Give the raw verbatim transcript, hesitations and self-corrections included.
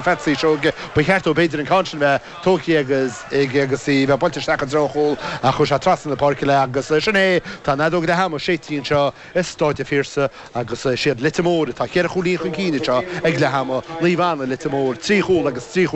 Pheatsaí Seoige ba cheart dó b'fhéidir an ceann sin bheith tógtha agus ag agus í bheith buailte isteach i dtreo an chúil ach chuaigh sé trasna na páirce le agus sin é tá an fheadóg leath ama séidte anseo i Stáid an Phiarsaigh agus is iad Leitir Móir atá ceithre chúilín chun cinn anseo ag leath ama Naomh Anna Leitir Móir trí chúl agus trí chúl